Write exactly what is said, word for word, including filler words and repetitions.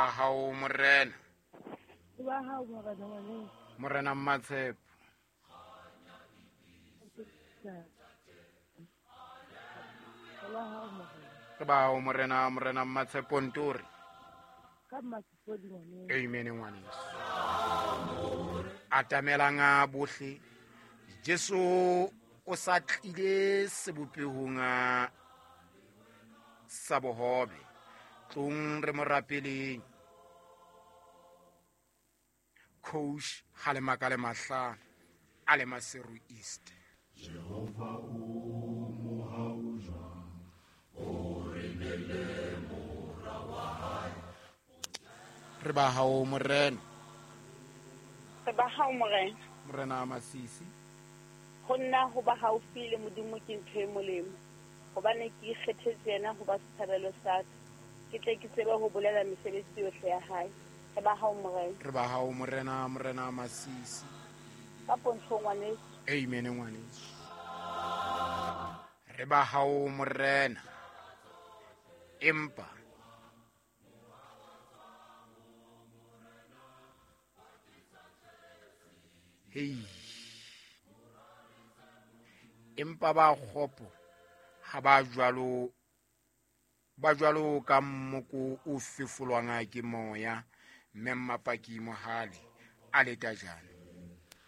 Ba hao morena. Ba hao morena ngwaneso. Morena Mmatshepo. Ba hao morena. Re ba hao morena, morena Mmatshepo Ntori. Ka Mmatshepo ngwaneso. Amen ngwaneso. Atamelang a bohle. Jesu o sa tlile sebopehong sa bohobe. Tlong re mo rapeleng. Coach Halemaka le Mahlano a le Maseru East. Jehova o mohau jwang, o re neele mora wa hae. Re ba hao morena. Re ba hao morena. Morena Masisi. Ho nna ho ba haufi le Modimo ke ntho e molemo, hobane ke ikgethetse yena ho ba setshabelo sa ka, ke tle ke tsebe ho bolela mesebetsi yohle ya hae. Re ba hao morena. Re ba hao morena, morena Masisi. Ka pontsho ngwaneso. Amen ngwaneso. Re ba hao morena. Empa hei, empa ba kgopo ha ba jwalo, ba jwalo ka mmoko o fefolwang ke moya. Mme Mmapaki Mohale a le tajana.